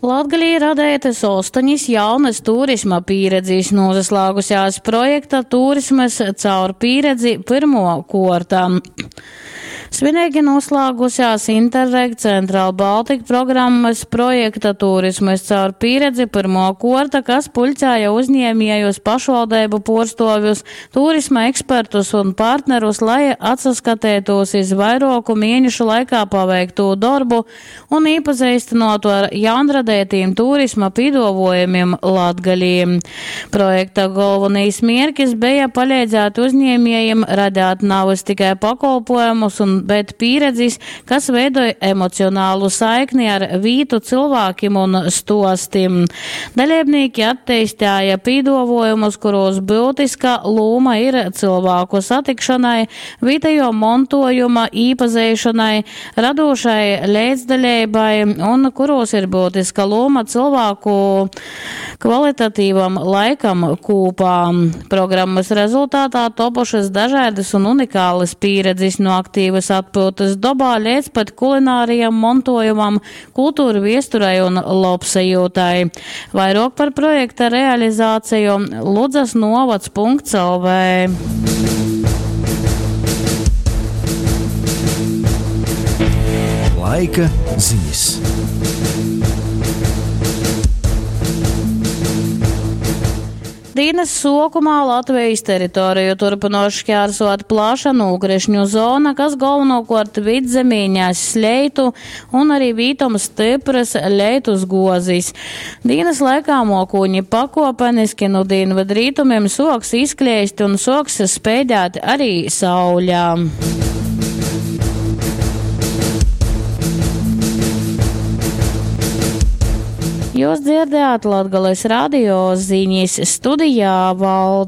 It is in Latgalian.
Latgalī radeitys ostoņis jaunys turisma pīredzis, nūsaslāgusēs projekta Turismys caur pīredzi pyrmuo kuorta. Svineigi noslēgusies Interreg Central Baltic programmas projekta Turismys caur pīredzi pyrmuo kuorta, kas puļcēja uzņēmiejus, pašvaldeibu puorstuovjus, turisma ekspertus un partnerus, lai atsaskateitūs iz vairuoku mienešu laikā paveiktū dorbu un īpazeistynuotu ar jaunradeitīm turisma pīduovuojumim Latgalī. Projekta golvonīs mierkis beja paleidzēt uzņēmiejim radēt navys tikai pakolpojumus, un, bet pīredzis, kas veidoj emocionālu saikni ar vītu, cylvākim un stuostim. Daleibnīki atteistēja pīduovuojumus, kurūs byutiska lūma ir cylvāku satikšonai, vītejuo montuojuma īpazeišonai, radūšai leidzdaleibai un kurūs ir byutiska lūma cylvāku kvalitatīvam laikam kūpā. Programmys rezultatā topušys dažaidys un unikālys pīredzis nu aktīvys atpyutys dobā leidz pat kulinārajam montuojumam, kulturviesturei un lobsajiutai. Vairuok par projekta realizāciju Ludzas novads.lv. Laika ziņas. Dīnys suokumā Latvejis teritoriju turpynuos škārsuot plaša nūkrišņu zona, kas golvonūkuort Vydzemī ness leitu un arī vītom styprys leitus guozis. Dīnys laikā muokūņi pakuopeniski nu dīnvydrītumim suoks izkleist un suoks speidēt arī sauļa. Jūs dzirdējāt Latgales radio ziņas studijā Valda.